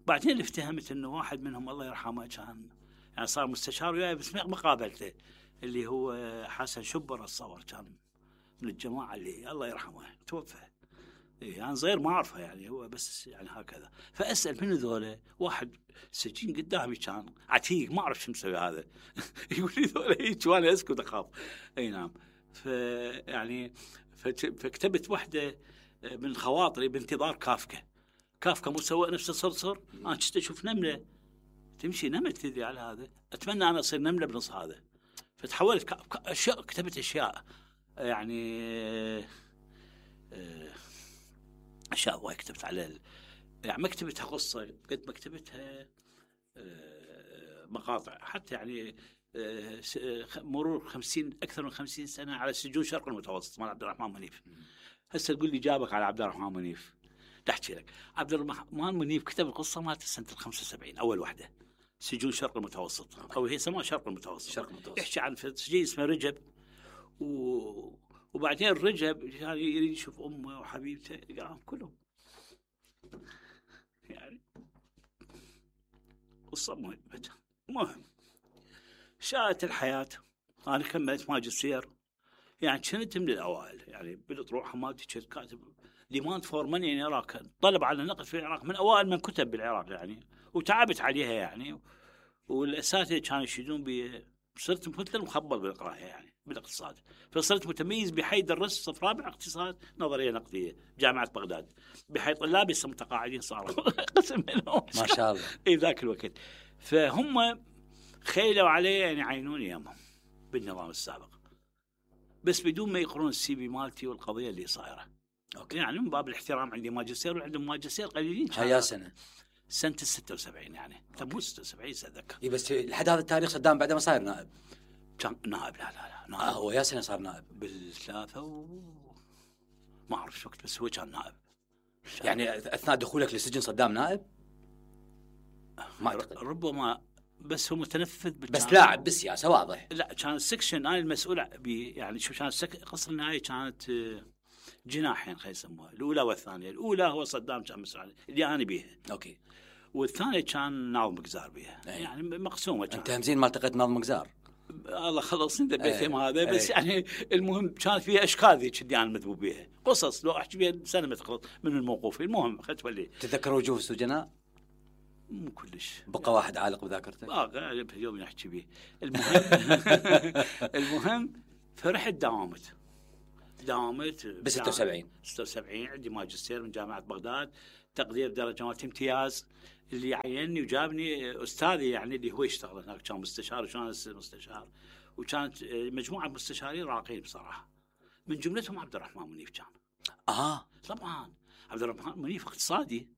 بعدين اللي افتهمت انه واحد منهم الله يرحمه كان يعني صار مستشار وياي بس ما قابلته، اللي هو حسن شبر الصور كان من الجماعه اللي الله يرحمه توفى. إيه انا صغير ما اعرفه يعني، هو بس يعني هكذا. فاسال من ذولا، واحد سجين قدامي كان عتيق ما اعرف شو مسوي هذا يقول لي ذولا هيك وانا اسكت اخاف. اي نعم. فيعني فكتبت واحده من خواطري بانتظار كافكا. كافكا مسوى نفس الصرصر، انا كنت اشوف نمله تمشي نمله تذي على هذا، اتمنى انا اصير نمله بنص هذا. فتحولت اشياء، كتبت اشياء يعني اشياء وايد كتبت على يعني ما كتبتها قصه قد ما كتبتها مقاطع. حتى يعني مرور 50 اكثر من 50 سنه على سجون شرق المتوسط مال عبد الرحمن منيف. هسه تقول لي جابك على عبد الرحمن منيف، احكي لك عبد الرحمن منيف كتب القصه مالت سنه 75 اول وحده، سجون شرق المتوسط او هي سموها شرق المتوسط. شرق المتوسط يحكي عن سجين اسمه رجب وبعدين رجب يعني يريد يشوف امه وحبيبته يلقاهم كلهم يعني قصه مهمه. المهم شاءت الحياه، انا كملت ماجستير يعني كنت من الاوائل يعني بالاطروحه مالتي كنت كاتب ديماند فور ماني ان العراق، طلب على النقد في العراق، من اوائل من كتب بالعراق يعني، وتعبت عليها يعني، والاساتذه كانوا يشيدون بي. صرت مثل مخبل بالقراءه يعني بالاقتصاد، فصرت متميز بحي درست صف رابع اقتصاد نظريه نقديه جامعه بغداد، بحي طلابي لسه متقاعدين صاروا قسم منهم ما شاء الله. اي ذاك الوقت. فهم خيلوا علي ان يعينوني يمهم بالنظام السابق، بس بدون ما يقرون السي في مالتي والقضيه اللي صايره. اوكي. يعني من باب الاحترام عندي ماجستير وعندهم ماجستير قليلين. هيا سنه سنه 76 يعني، مو 76 اتذكر. اي بس لحد هذا التاريخ صدام بعد ما صاير نائب. كان نائب. لا نائب. هو يا سنه صار نائب بالثلاثه ما اعرف شو وقت، بس هو كان نائب يعني اثناء دخولك للسجن صدام نائب؟ ما اعتقد. ربما، بس هو متنفذ بس لاعب بالسياسه واضح. لا كان السكشن انا المسؤول يعني شو كان قصر النهايه كانت جناحين خلينا نسموها، الاولى والثانيه. الاولى هو صدام كان مسؤول اللي انا بيها، اوكي. والثانيه كان ناظم قزار بيها. يعني مقسومه كان. انت همزين ما التقيت ناظم قزار؟ الله خلص انت بيتهم هذا بس يعني المهم كانت فيها اشكال ذيك اللي انا مذبوب بيها، قصص لو احكي بيها سنه ما تخلص من الموقوف. المهم خلت ولي تتذكر وجوه السجناء؟ مو كلش بقى واحد عالق بذاكرتك؟ اليوم نحكي به. المهم فرحت داومت ب 76 عندي ماجستير من جامعه بغداد، تقدير درجات امتياز. اللي عيني وجابني استاذي يعني اللي هو يشتغل هناك كان مستشار وكان مستشار، وكانت مجموعه مستشارين راقين بصراحه، من جملتهم عبد الرحمن منيف كان. طبعا عبد الرحمن منيف اقتصادي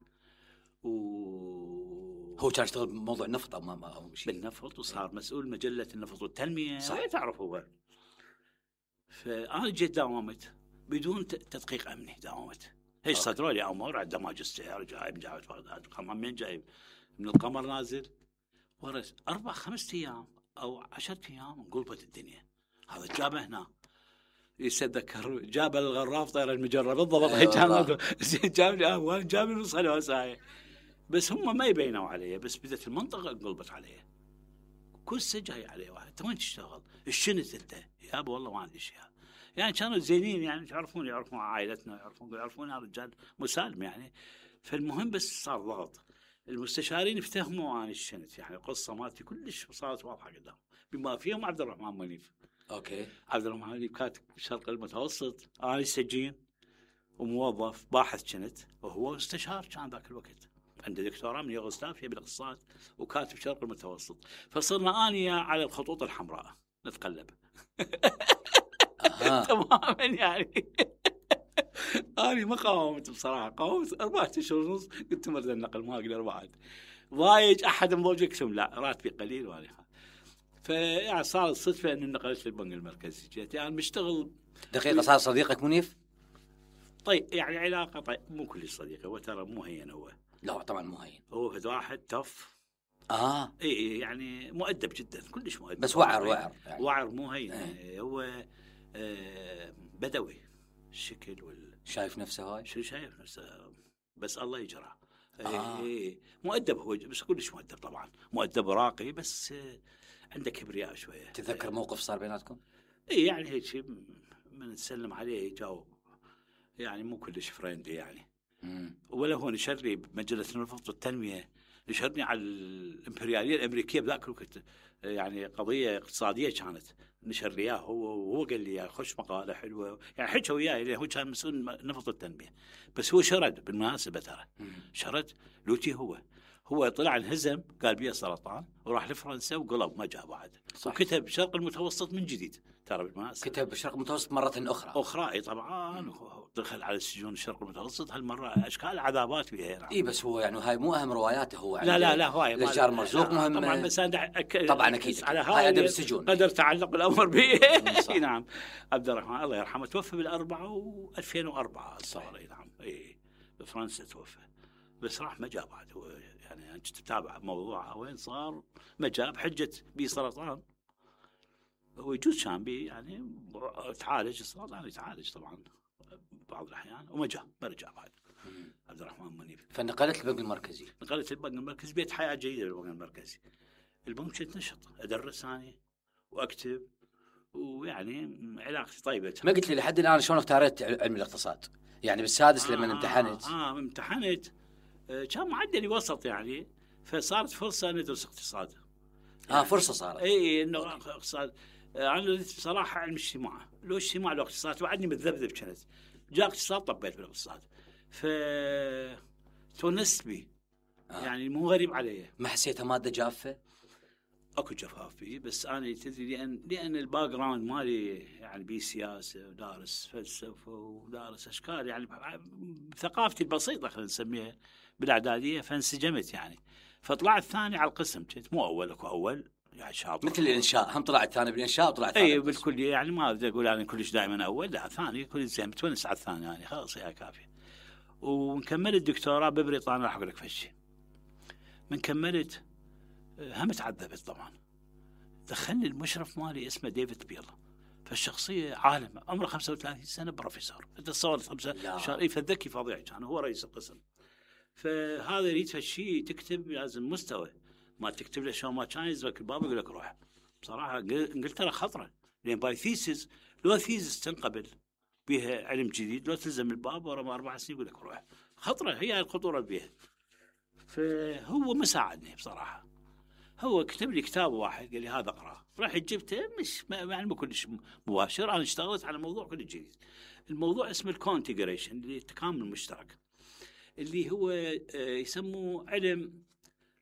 هو كان يشتغل بموضوع النفط او شيء بالنفط، وصار مسؤول مجله النفط والتنميه. صحيح. تعرف هو. فانا جيت داومت بدون تدقيق امني، داومت هيش صدروا لي امور عنده ماجستير جايب جامعه بغداد، من جايب من القمر نازل ورث 4-5 ايام او 10 ايام انقلبت الدنيا. هذا جابه هنا يتذكر جاب الغراف طير المجره بالضبط هيك كان جاب لي وانا جاب لي نص الوسائل، بس هم ما يبينوا علي، بس بدت المنطقه انقلبت علي. كل جاي علي واحد انت وين تشتغل؟ الشنت انت يا ابو والله ما عندي شيء يعني. كانوا زينين يعني يعرفون عائلتنا، يعرفون هذا الرجال مسالم يعني. فالمهم بس صار ضغط، المستشارين افتهموا عن الشنت يعني القصه مالتي كلش صارت واضحه قدام، بما فيهم عبد الرحمن منيف. اوكي. عبد الرحمن منيف كاتب الشرق المتوسط، انا سجين وموظف باحث شنت، وهو مستشار كان ذاك الوقت، عنده دكتوراه من يوغوسلافيا بالاقتصاد وكاتب شرق المتوسط. فصرنا اني على الخطوط الحمراء نتقلب تماما يعني. أنا ما قاومت بصراحة، قاومت 4 أشهر ونص، قلت مرد النقل ما أقدر بعد، ضايج أحد مضوج يكسم لا راتبي قليل وأنا فيعني صارت صدفة أن نقلت للبنك المركزي. جيت يعني مشتغل دقيقة. صار صديقك منيف؟ طيب يعني علاقة طيب مو كل صديقه، هو ترى مو هين، هو لا طبعا مو هين، هو واحد تف اي يعني مؤدب جدا، كلش مؤدب، بس وعر يعني. وعر مو هين يعني. هو بدوي الشكل شايف نفسه هاي شو شايف نفسه، بس الله يجرى. مؤدب هو، بس كلش مؤدب طبعا، مؤدب راقي، بس عنده كبرياء شويه. تتذكر موقف صار بيناتكم؟ اي يعني هيك من نسلم عليه جاوب، يعني مو كلش فريندلي يعني. مم. ولا هو نشر لي بمجله النفط والتنميه، نشرني على الامبرياليه الامريكيه بذاك الوقت، يعني قضيه اقتصاديه كانت، نشر لي اياه هو، وهو قال لي خش مقاله حلوه، يعني حكى وياي لأن هو كان مسؤول نفط التنميه. بس هو شرد بالمناسبه ترى، شرد لوتي هو طلع انهزم، قال بيه سرطان، وراح لفرنسا وقلب ما جاء بعد. صح. وكتب شرق المتوسط من جديد ترى بالمناسبه. كتب الشرق المتوسط مرة أخرى. اي طبعا، دخل على السجون الشرق المتوسط هالمره، اشكال عذابات بها يعني. اي بس هو يعني هاي مو اهم رواياته هو. لا هواي الاشجار مرزوق مهم طبعا، بس طبعا اكيد على هاي ادب السجون قدر تعلق الامر به. نعم. عبد الرحمن الله يرحمه توفى بال2004 صار. اي نعم، اي بفرنسا توفى، بس راح ما جاء بعد. هو يعني كنت تتابع موضوعه وين صار، ما جاء بحجه بي سرطان. هو يجوز كان بي يعني تعالج السرطان، يتعالج طبعا بعض الاحيان، وما جاء، ما رجع بعد. عبد الرحمن منيب. فنقلت البنك المركزي. نقلت البنك المركزي، بيت حياه جيده للبنك المركزي. البنك كنت نشط، ادرس انا واكتب، ويعني علاقتي طيبه. ما قلت لي لحد الان شلون اختاريت علم الاقتصاد؟ يعني بالسادس لما امتحنت. امتحنت كان معدلي وسط يعني، فصارت فرصه ندرس اقتصاد. يعني فرصه صارت. اي انه اقتصاد. انا بصراحه علم اجتماع، لو اجتماع لو اقتصاد، وعدني متذبذب كنت. جاء اقتصاد طبيت بالاقتصاد، تونست بي. يعني مو غريب علي. ما حسيتها ماده جافه؟ اكو جفاف فيه، بس انا تدري لان الباك جراوند مالي يعني بسياسه، ودارس فلسفه، ودارس اشكال، يعني بثقافتي البسيطه خلينا نسميها بالاعداديه، فانسجمت يعني. فطلعت ثاني على القسم، كنت مو اول، اكو اول يعني شاطر. مثل الانشاء، هم طلعت ثاني بالانشاء وطلعت ثاني. اي بالكليه، يعني ما بدي اقول انا كلش دائما اول، لا ثاني كل زين، متونس على الثاني يعني، خلاص هي كافيه. ونكمل الدكتوراه ببريطانيا، راح اقول لك فشي. من كملت هم تعذبت طبعا. دخلني المشرف مالي اسمه ديفيد بيل، فالشخصيه عالم، عمره 35 سنه، بروفيسور. انت تصورت 5 شهور، فالذكي فظيع كان، هو رئيس القسم. فهذا يريد فشي تكتب لازم مستوى، ما تكتب له شو ما كان يزبك الباب يقول لك روح. بصراحه قلت ترى خطره، لان باي ثيسز، لو ثيسز تنقبل بها علم جديد، لو تلزم الباب ورا 4 سنين يقول لك روح. خطره، هي الخطوره بها. فهو ما ساعدني بصراحه. هو كتب لي كتاب واحد، قال لي هذا اقراه، رحت جبته، مش يعني مو كلش مباشر. انا اشتغلت على موضوع كل جديد. الموضوع اسمه الكونتيجريشن، اللي التكامل المشترك، اللي هو يسموه علم